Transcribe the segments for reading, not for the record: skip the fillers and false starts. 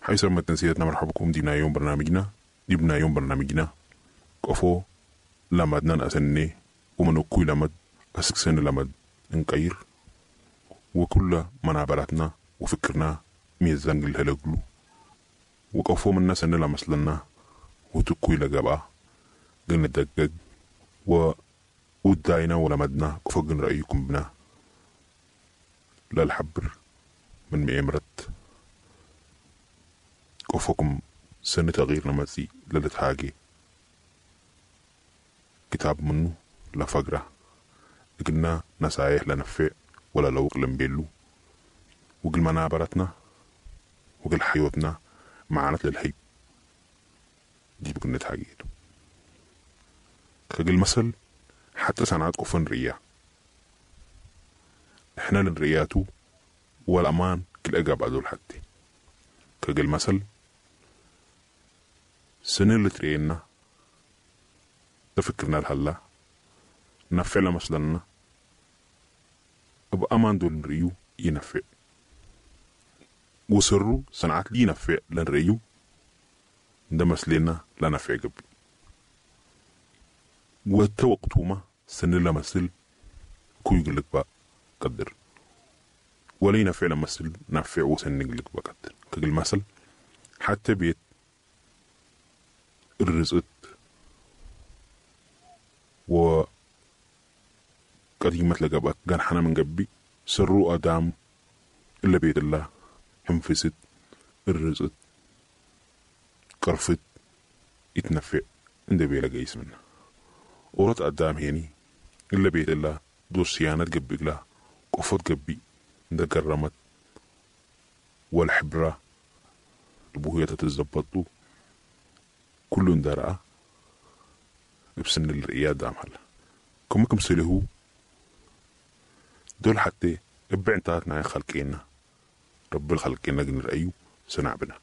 حيث ما تنسيتنا مرحبكم دينا يوم برنامجنا ديبنا يوم برنامجنا قفو لمدنا أسني ومنكوي لمد أسكسن لمد نقير وكل منابراتنا وفكرنا ميزان الهلقلو وقفو منا سنة لمسلنا وتكوي لقبا قلنا دقق وداينا ولمدنا قفقن رأيكم بنا للحبر من مئمرت قفكم سنة تغيير نمسي للتحاجي كتاب منه لفقرة قلنا نصايح لنفع ولا لو لنبيلو وقل منابرتنا وقل حيوتنا معانت للحي دي بكنا تحاجيتو كقل مثل حتى سنعات قفن ريا احنا لنرياتو والأمان كل أقاب أدول حتى كقل مثل سنة اللي ترينا تفكرنا الهلا نفع لمثلنا بأمان دول نريو ينفع وسرو صنعت لي نفع لنريو ده مسلنا لا نفع قبل وتوقتوما سن لمثل كو يقولك بقى قدر ولي نفع لمثل نفع وسن يقولك بقى قدر كقل مثل حتى بيت الرزق و قديمة لقبك كان حنا من قبي سرو أدام إلا بيت الله حنفست الرزق قرفت يتنفع عند بيلا جيس منه ورت قدام هيني إلا بيت الله دو صيانة قبي لا قفت قبي عند كرمت والحبرة البوهية تتزبطو كل درأة بسن الرئيات دام هلا كم كم سلهو دول حتى ابعنتاتنا خلقينا رب الخلقينا قلنا رأيو سنعبنا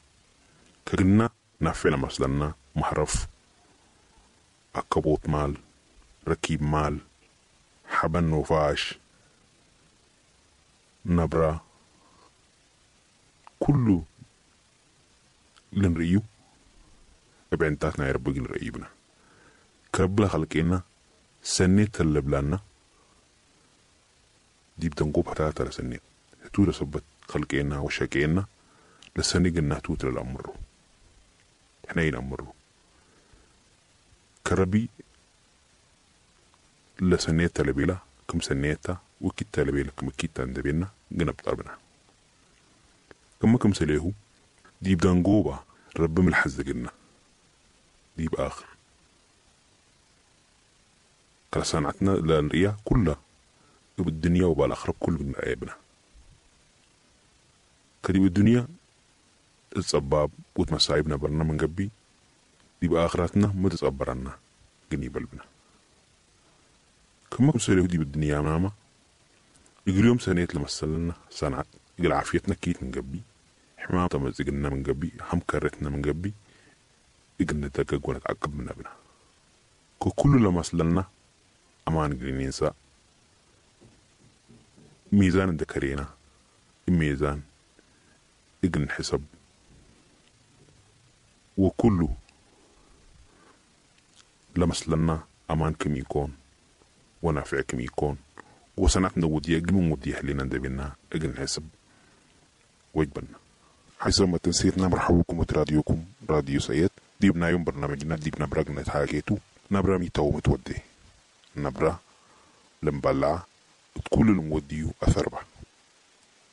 كقلنا نفعنا مثلنا محرف أكبوت مال ركيب مال حبن وفاش نبرة كله لنريو ابعنتاتنا يا رب قلنا رأيبنا كرب خلقينا سنة اللي دي بتنقوب حتى لسنة هتو لسبت خلقينا وشاكينا لسنة قلنا توت للأمر احنا ينأمرو كربي لسنة لبيلا كم سنيتا وكتا لبيلا كم كتا اندبينا قنا بطربنا كم كم سليهو دي بدنقوبة رب من الحز قلنا دي بآخر كلا لنريا كلها بالدنيا وبالآخرة كل من عيبنا كدي بالدنيا الصباب وتمسايبنا برنا من قبي دي بآخرتنا ما تتصبرنا قني بلبنا كما كم دي بالدنيا ماما يقول سنة لمسلنا صنعت يقول عافيتنا كيت من قبي حمام تمزقنا من قبي هم كرتنا من قبي يقول نتقق ونتعقب من أبنا كل لمسلنا أمان قلنينسا ميزان ذكرينا الميزان إجن حسب وكله لمس لنا أمان كم يكون ونافع كم يكون وصنعتنا ودية قلنا ودية لنا ندبنا إجن حسب وجبنا حيث ما تنسيتنا مرحبكم وتراديوكم راديو سيد ديبنا يوم برنامجنا ديبنا برقنا تحاكيتو نبرا ميتو متودي نبرا لمبلع كل الموديو أثربة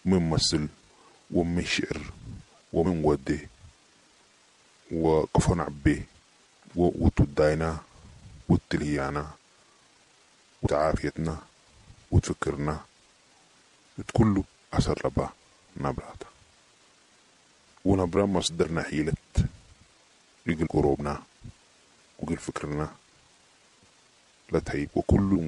من مثل ومن شعر ومن ودي وقفنا عبي وتداينا وتلهيانا وتعافيتنا وتفكرنا كله أثر ربا نبراتا ونبرا مصدرنا حيلة يقل قروبنا وقل فكرنا لا تهيب وكل